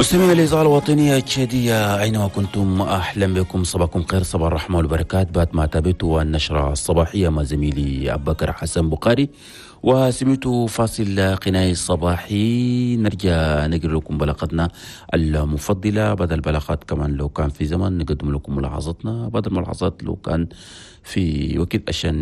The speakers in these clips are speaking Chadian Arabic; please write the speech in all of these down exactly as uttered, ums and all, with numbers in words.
مستمعي الإذاعة الوطنية التشادية أينما كنتم، أهلا بكم، صباحكم خير، صباح الرحمة والبركات. بعد ما تابعتوا النشرة الصباحية مع زميلي أبو بكر حسن بخاري وسمعتوا فاصل غنائي الصباحي، نرجع نقرأ لكم بلاغتنا المفضلة. بعد البلاغات كمان لو كان في زمن نقدم لكم ملاحظتنا، بعد الملاحظات لو كان في وقت عشان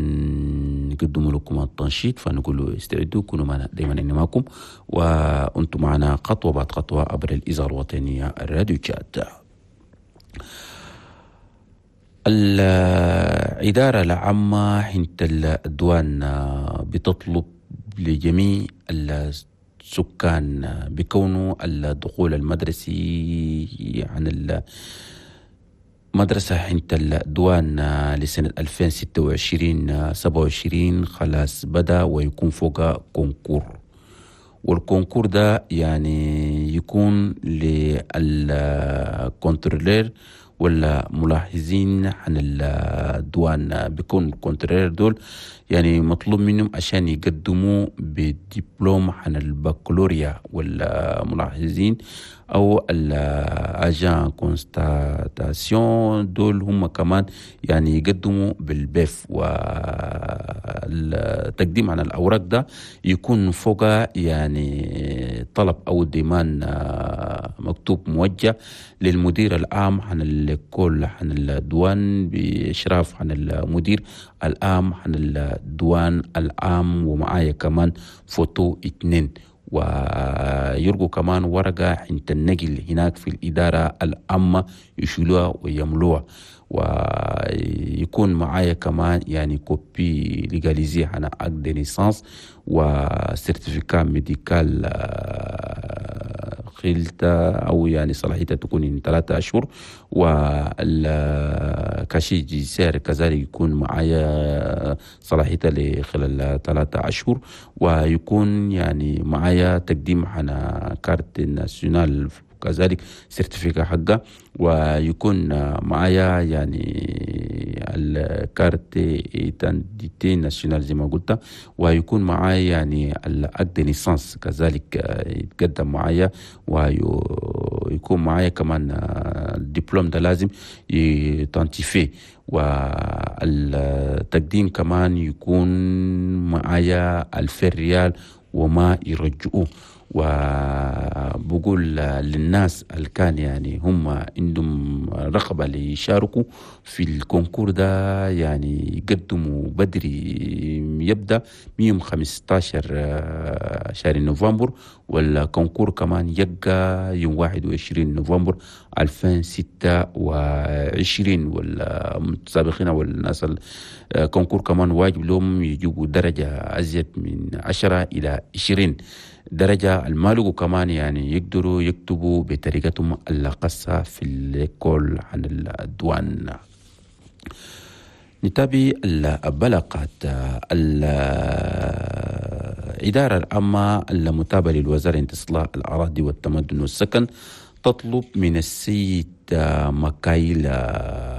نقدم لكم التنشيط، فنقول استعدوا، كونوا معنا دايما معكم وانتم معنا خطوة بعد خطوة عبر الإذاعة الوطنية الراديو تشاد. الإدارة العامة حنت الدوان بتطلب لجميع السكان بكونه الدخول المدرسي عن المدرسة حنت الدوان لسنة ألفين وستة وعشرين سبعة وعشرين خلاص بدأ، ويكون فوق concours، وال concours ده يعني يكون لل contrôleur ولا ملاحظين عن الدوان. بيكون contrôleur دول يعني مطلوب منهم عشان يقدموا بدبلوم عن البكالوريا، والملاحظين او ال agent constatation دول هم كمان يعني يقدموا بال B E F، والتقديم عن الاوراق ده يكون فوق يعني طلب او demande مكتوب موجه للمدير العام عن l'école عن الدوان، باشراف عن المدير العام عن الدوان العام، ومعايا كمان فوتو اتنين، ويرجو كمان ورقة عند النقل هناك في الإدارة العامة يشيلوها ويملوها، ويكون معايا كمان يعني copie légalisée عن acte de naissance و certificat médical خلتا أو يعني صلاحيتها تكون من ثلاثة أشهر، وال casier judiciaire كذلك يكون معايا صلاحيتها لخلال ثلاثة أشهر، ويكون يعني معايا تقديم على carte nationale كذلك certificat حقه، ويكون معايا يعني ال carte d'identité nationale زي ما قلت، ويكون معايا يعني ال acte de naissance كذلك يتقدم معايا، ويكون معايا كمان الدبلوم ده لازم ي authentifié، والتقديم كمان يكون معايا ألفين ريال وما يرجعوه. وبقول للناس اللي كان يعني هم عندهم رغبة ليشاركوا في ال concours ده، يعني يقدموا بدري، يبدأ يوم خمستاشر شهر نوفمبر، وال concours كمان يبقى يوم واحد وعشرين نوفمبر ألفين وستة وعشرين. والمتسابقين والناس ال concours كمان واجب لهم يجيبوا درجة أزيد من عشرة إلى عشرين درجة. المالقوا كمان يعني يقدروا يكتبوا بطريقتهم الخاصة في l'école عن الدوان. نتابع البلاغات. الإدارة العامة المتابعة للوزارة استصلاح الأراضي والتمدن والسكن تطلب من السيد مكايل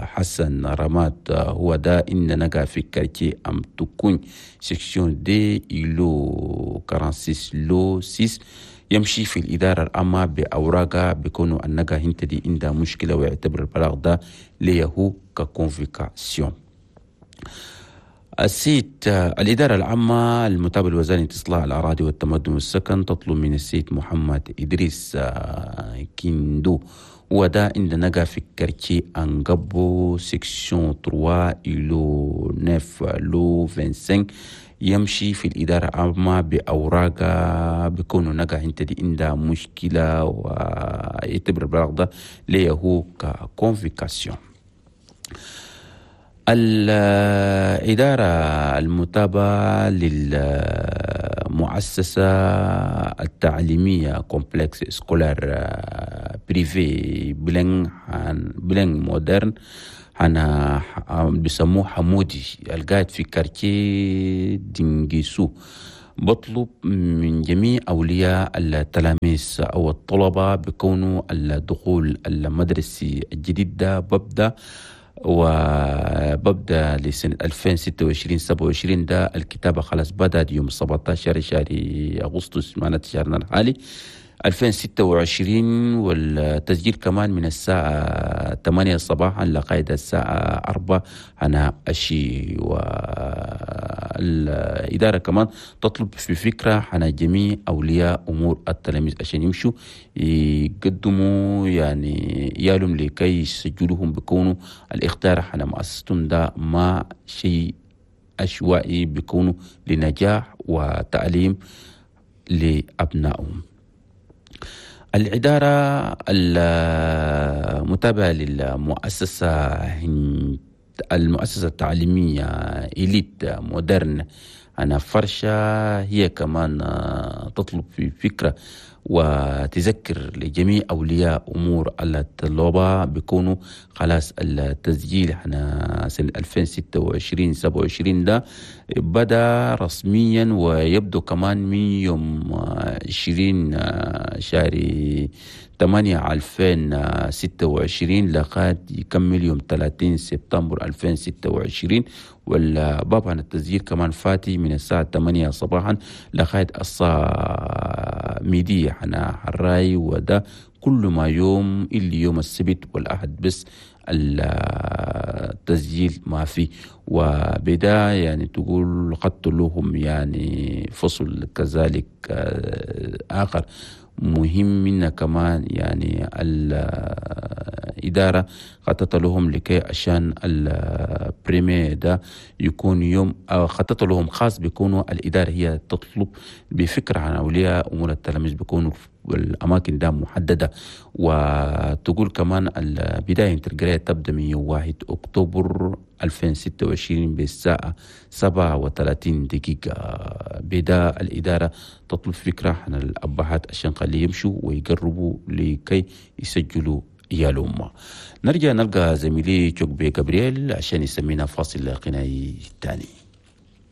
حسن رماد، هو ده إن نقع في quartier أم تكون section deux îlot quarante-six lot ستة، يمشي في الإدارة العامة بأوراقها بكونه النقا هنت دي عندها مشكلة، ويعتبر البلاغ ده ليه ك convocation. السيد الإدارة العامة المتابعة لوزارة استصلاح الأراضي والتمدن والسكن تطلب من السيد محمد إدريس كيندو، وده عند نقا في quartier أنقبو section ثلاثة îlot تسعة lot خمسة وعشرين، يمشي في الإدارة العامة بأوراق بكونه نقا انت دي عندها مشكلة، ويعتبر البلاغ ده ليه هو ك convocation. الإدارة المتابعة للمؤسسة التعليمية complexe scolaire privé bilingue bilingue moderne أنا بيسموه حمودي القاعد في quartier دينجيسو، بطلب من جميع أولياء التلاميذ أو الطلبة بكونه الدخول المدرسي الجديد ده ببدأ، وببدأ لسنة ألفين وستة وعشرين سبعة وعشرين ده الكتابة خلاص بدأت يوم سبعتاشر شهر أغسطس، معناته شهرنا الحالي. ألفين وستة وعشرين، والتسجيل كمان من الساعة ثمانية صباحا لغاية الساعة أربعة هنا الشيء. والإدارة كمان تطلب في فكرة هنا جميع أولياء أمور التلاميذ عشان يمشوا يقدموا يعني يالهم لكي يسجلوهم، بيكونوا الاختيار هنا مؤسستهم ده ما شيء عشوائي، بيكونوا لنجاح وتعليم لأبنائهم. الإدارة المتابعة للمؤسسة المؤسسة التعليمية إليت مودرن أنا فرشة هي كمان تطلب في فكرة وتذكر لجميع أولياء أمور الطلبة بيكونوا خلاص التسجيل احنا سنة ألفين وستة وعشرين سبعة وعشرين ده بدأ رسميا، ويبدو كمان من يوم عشرين شهر ثمانية ألفين وستة وعشرين لغاية يكمل يوم ثلاثين سبتمبر ألفين وستة وعشرين. والباب عن التسجيل كمان فاتي من الساعة ثمانية صباحا لغاية الساعة ميدية حنا حراي، وده كل ما يوم اللي يوم السبت والأحد بس التسجيل ما في. وبدا يعني تقول خدت لهم يعني فصل كذلك آخر مهم منا كمان، يعني الإدارة خطط لهم لكي عشان البريمي ده يكون يوم خطط لهم خاص، بيكونوا الإدارة هي تطلب بفكرة عن أولياء أمور التلاميذ بيكونوا الأماكن ده محددة. وتقول كمان البداية القراية تبدأ من يوم واحد أكتوبر ألفين وستة وعشرين بالساعة سبعة وثلاثين دقيقة. بدأ الإدارة تطلب فكرة عن الأبهات عشان خليه يمشوا ويقربوا لكي يسجلوا عيالهم. نرجع نلقى زميلي جوكبي جابرييل عشان يسمينا فاصل غنائي تاني.